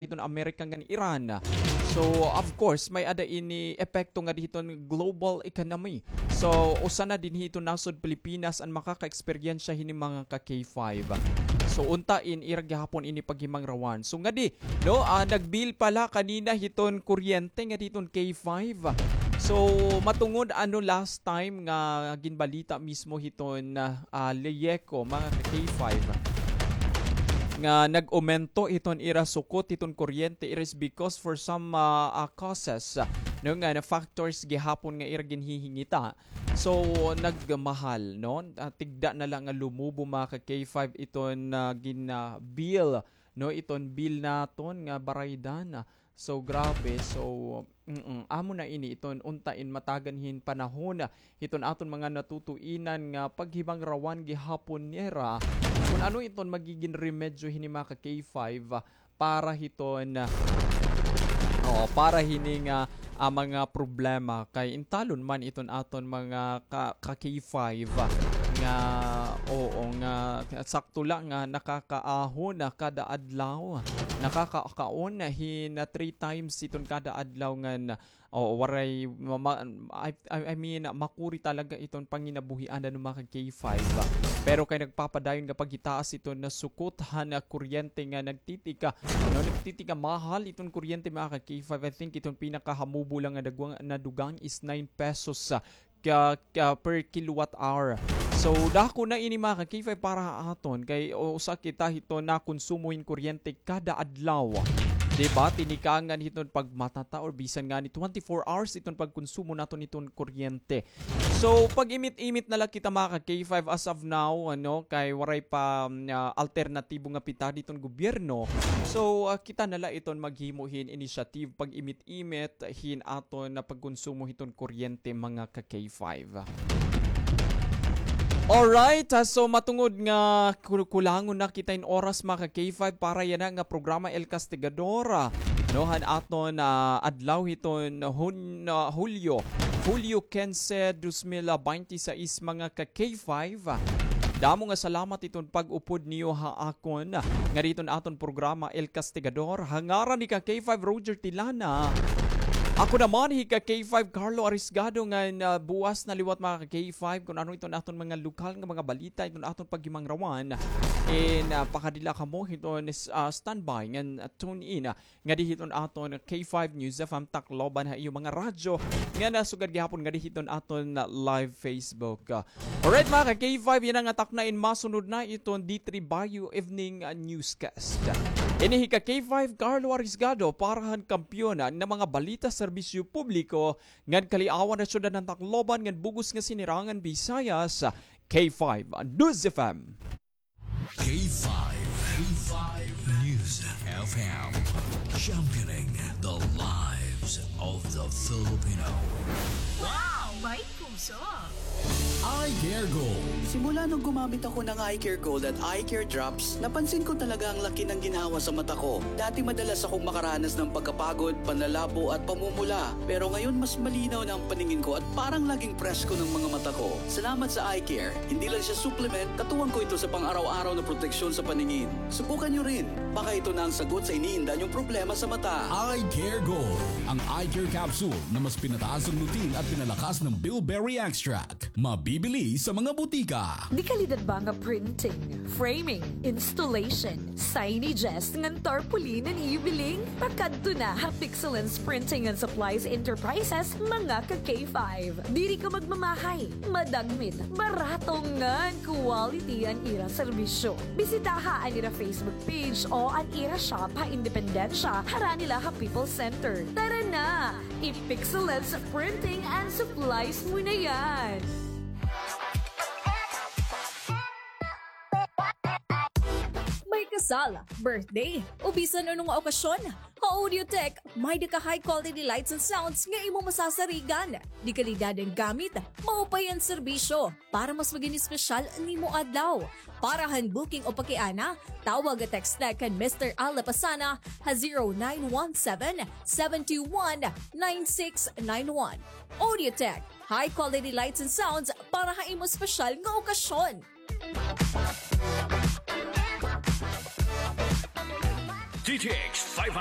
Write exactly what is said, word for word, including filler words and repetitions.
hiton Amerika ngan Iran. So, of course, may-ada ini epekto ngadi hiton global economy. So, usa na dinhi hiton nasod Pilipinas an makaka-eksperyensya hini, mga ka K five. So, unta in ira gihapon ini paghimangrawan. So, ngadi, no, ah, nag-bill pala kanina hiton kuryente ngadi hiton K five. So, matungod ano last time nga ginbalita mismo hiton, ah, ah, LEEECO, mga ka K five, nga nag-umento hiton ira sukot hiton kuryente, it is because for some, ah, ah, causes, ah, no, nga na factors gihapon nga ira ginhihingita. So, nagmahal, no? Ah, tigda na la nga lumubo, mga ka K five, iton, ah, gin, ah, bill, no? Iton bill naton nga baraydan. So, grabe. So, mm, amo na ini iton unta in matagan hin panahon hiton aton mga natutuinan nga paghimangrawan gihapon nira kun ano iton magigin remedyo hini, mga ka K five, para hiton, oo, para hini nga, ah, mga problema kay intalon man iton aton mga ka, ka K five nga, oo, nga sakto la nga nakakaahon na kada adlaw, nakakaon hin three times iton kada adlaw ngan, oo, waray ma-, ma-, I, I, I mean, makuri talaga iton panginabuhian, ano, mga ka K five. Pero kay nagpapadayon nga paghitaas iton nasukot han kuryente nga nagtitika, ano, nagtitika mahal iton kuryente, mga ka K five. I think iton pinakahamubo la nga dagwang, nadugang is nine pesos, ah, ka, ka per kilowatt hour. So, dako na ini, mga ka K five, para ha aton kay usa kita hiton nakonsumo hin kuryente kada adlaw. Di ba? Tinikangan hiton pagmata ta or bisan ngani twenty-four hours iton pagkonsumo naton hiton kuryente. So, pag-imit-imit na la kita, mga ka K five, as of now, ano, kay waray pa, um, ah, alternatibo nga pitad hiton gobyerno. So, ah, kita na la iton maghimo hin initiative, pag-imit-imit hin aton nga pagkonsumo hiton kuryente, mga ka K five. Alright, ah, so matungod nga kul-, kulangon na kita hin oras, mga ka K five, para yana nga programa El Castigador, ah, no, han aton, ah, adlaw hiton Hun-, ah, Hulyo, Hulyo kinse, dos mil baynte sais, mga ka K five. Damo nga salamat iton pag-upod niyo ha akon nga diton aton programa El Castigador. Ha ngaran ni ka K five Roger Tilana, ako naman hi ka K five Carlo Arisgado nga, ah, buwas na liwat, mga ka K five, kun ano iton aton mga lokal nga mga balita, iton aton paghimangrawan. In, ah, pakadila kamo hiton, ah, standby ngan, ah, tune in, ah, ngadi hiton aton K five News F M Tacloban ha iyo mga radyo nga nasugad gihapon ngadi hiton aton live Facebook. Alright, mga ka K five, yana nga takna in masunod na iton D three Bayo Evening, ah, Newscast. Ini hi ka K five Carlo Arisgado para han Kampiyon nga mga balita, serbisyo publiko ngan kaliawan ha syudad han Tacloban ngan bug-os nga sinirangan Visayas, K five News F M. K five, K five News F M, championing the lives of the Filipino. Wow! May puso! Eye Care Gold. Simula nung gumamit ako ng Eye Care Gold at Eye Care Drops, napansin ko talaga ang laki ng ginhawa sa mata ko. Dati madalas akong makaranas ng pagkapagod, panlalabo at pamumula. Pero ngayon mas malinaw na ang paningin ko at parang laging presko ng mga mata ko. Salamat sa Eye Care. Hindi lang siya supplement, katuwang ko ito sa pang-araw-araw na proteksyon sa paningin. Subukan niyo rin. Baka ito na ang sagot sa iniinda niyong problema sa mata. Eye Care Gold, ang eye care capsule na mas pinataas ang lutein at pinalakas ng bilberry extract. Mabibili sa mga butika. Dekalidad ba nga printing, framing, installation, signages ngan tarpaulin an ibiling? Pakadto na ha Pixelance Printing and Supplies Enterprises, mga ka K five. Diri ka magmamahay, madagmit, barato ngan quality an ira serbisyo. Bisitaha an ira Facebook page o an ira shop ha Independencia, harani la ha People's Center. Tara na! I-Pixelance Printing and Supplies mo na yan! May kasal, birthday, o bisan ano nga okasyon, ha Audiotech, may-ada ka high quality lights and sounds nga imo masasarigan. Dekalidad an gamit, maupay an serbisyo. Para mas maging espesyal an imo adlaw. Para han booking o pakiana, tawag o text na kan Mister Al Lapasana ha zero nine one seven, seven two one, nine six nine one. Audiotech, high quality lights and sounds para ha imo espesyal nga okasyon. K D T X five hundred.